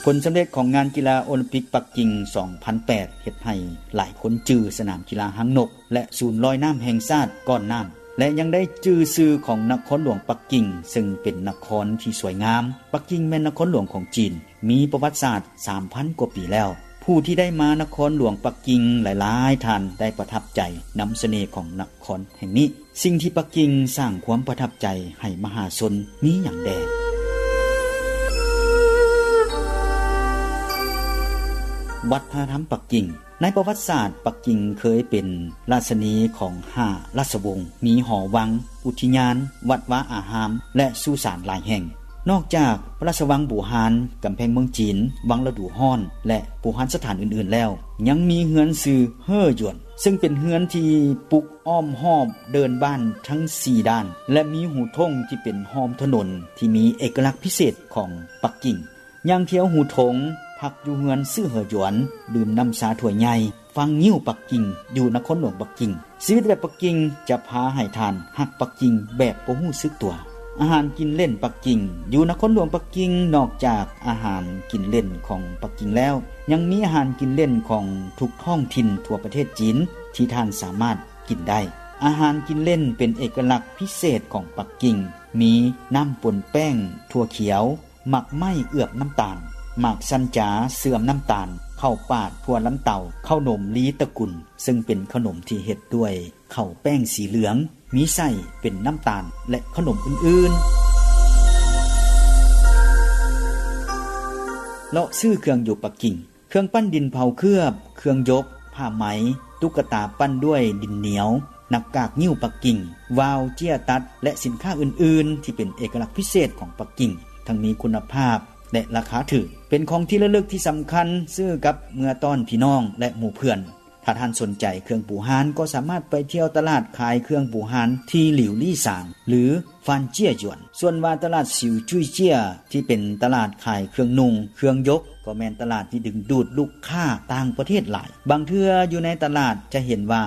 ຜົນສຳເລັດຂອງງານກິລາໂອລິມປິກປັກກິ່ງ ສອງພັນແປດ ເຮັດໃຫ້ຫຼາຍຄົນຈື່ສະໜາມກິລາຫາງນົກ ແລະ ສູນລອຍນ້ຳແຫ່ງຊາດກ້ອນນ້ຳ ແລະ ຍັງໄດ້ຈື່ຊື່ຂອງນະຄອນຫຼວງປັກກິ່ງ ເຊິ່ງເປັນນະຄອນທີ່ສວຍງາມ. ປັກກິ່ງແມ່ນນະຄອນຫຼວງຂອງຈີນ ມີປະຫວັດສາດ ສາມພັນ ກວ່າປີແລ້ວ. ຜູ້ທີ່ໄດ້ມານະຄອນຫຼວງປັກກິ່ງຫຼາຍໆທ່ານໄດ້ປະທັບໃຈນຳສະເໜ່ຂອງນະຄອນແຫ່ງນີ້. ສິ່ງທີ່ປັກກິ່ງສ້າງຄວາມປະທັບໃຈໃຫ້ມະຫາຊົນມີຫຍັງແດ່? ວັດທະນະທຳປັກກິ່ງ. ໃນປະຫວັດສາດ, ປັກກິ່ງເຄີຍເປັນລາຊະນີຂອງຫ້າລາຊະວົງ, ມີຫໍວັງ, ອຸທິຍານ, ວັດວາອາຮາມ ແລະ ສຸສານຫຼາຍແຫ່ງ. ນອກຈາກພະລາຊະວັງບູຮານ, ກຳແພງເມືອງຈີນ, ວັງລະດູຮ້ອນ ແລະ ບູຮານສະຖານອື່ນໆແລ້ວ, ຍັງມີເຮືອນຊື່ເຮີຢວນ, ເຊິ່ງເປັນເຮືອນທີ່ປຸກອ້ອມຮອບເດີ່ນບ້ານທັງສີ່ດ້ານ ແລະ ມີຫູທົ່ງທີ່ເປັນຮ່ອມຖະໜົນທີ່ມີເອກະລັກພິເສດຂອງປັກກິ່ງ. ຍ່າງທ່ຽວຫູທົ່ງ, ພັກຢູ່ເຮືອນຊື່ເຮີຢວນ, ດື່ມນ້ຳຊາຖ້ວຍໃຫຍ່, ຟັງງິ້ວປັກກິ່ງຢູ່ນະຄອນຫຼວງປັກກິ່ງ. ຊີວິດແບບປັກກິ່ງຈະພາໃຫ້ທ່ານຮັກປັກກິ່ງແບບບໍ່ຮູ້ສຶກຕົວ. ອາຫານກິນເລ່ນປັກກິ່ງ. ຢູ່ນະຄອນຫຼວງປັກກິ່ງ, ນອກຈາກອາຫານກິນເລ່ນຂອງປັກກິ່ງແລ້ວ, ຍັງມີອາຫານກິນເລ່ນຂອງທຸກທ້ອງຖິ່ນທົ່ວປະເທດຈີນທີ່ທ່ານສາມາດກິນໄດ້. ອາຫານກິນເລ່ນເປັນເອກະລັກພິເສດຂອງປັກກິ່ງ, ມີນ້ຳປົນແປ້ງ, ຖົ່ວຂຽວ, ໝາກໄມ້ເອືອບນ້ຳຕານ, ໝາກສັນຈາເຊື່ອມນ້ຳຕານ, ເຂົ້າປາດ, ຖົ່ວລຳເຕົາ, ເຂົ້າໜົມລີຕະກຸນ, ເຊິ່ງເປັນຂະໜົມທີ່ເຮັດດ້ວຍເຂົ້າແປ້ງສີເຫຼືອງ, ມີໄສ້ເປັນນ້ຳຕານ ແລະ ຂະໜົມອື່ນໆ. ເລາະຊື້ເຄື່ອງຢູ່ປັກກິ່ງ. ເຄື່ອງປັ້ນດິນເຜົາເຄືອບ, ເຄື່ອງຢົກ, ຜ້າໄໝ, ຕຸກກະຕາປັ້ນດ້ວຍດິນໜຽວ, ໜ້າກາກງິ້ວປັກກິ່ງ, ວາວເຈ້ຍຕັດ ແລະ ສິນຄ້າອື່ນໆທີ່ເປັນເອກະລັກພິເສດຂອງປັກກິ່ງ, ທັງມີຄຸນນະພາບ ແລະ ລາຄາຖືກ, ເປັນຂອງທີ່ລະລຶກທີ່ສຳຄັນ ຊື້ກັບເມືອຕ້ອນພີ່ນ້ອງ ແລະ ໝູ່ເພື່ອນ. ຖ້າທ່ານສົນໃຈເຄື່ອງບູຮານ ກໍສາມາດໄປທ່ຽວຕະຫຼາດຂາຍເຄື່ອງບູຮານທີ່ຫຼິວລີ້ສາງ ຫຼື ຟານເຈ້ຍຢວນ. ສ່ວນວ່າຕະຫຼາດສິວຈຸ້ຍເຈ້ຍ ທີ່ເປັນຕະຫຼາດຂາຍເຄື່ອງນຸ່ງ, ເຄື່ອງຢົກ ກໍແມ່ນຕະຫຼາດທີ່ດຶງດູດລູກຄ້າຕ່າງປະເທດຫຼາຍ. ບາງເທື່ອຢູ່ໃນຕະຫຼາດຈະເຫັນວ່າ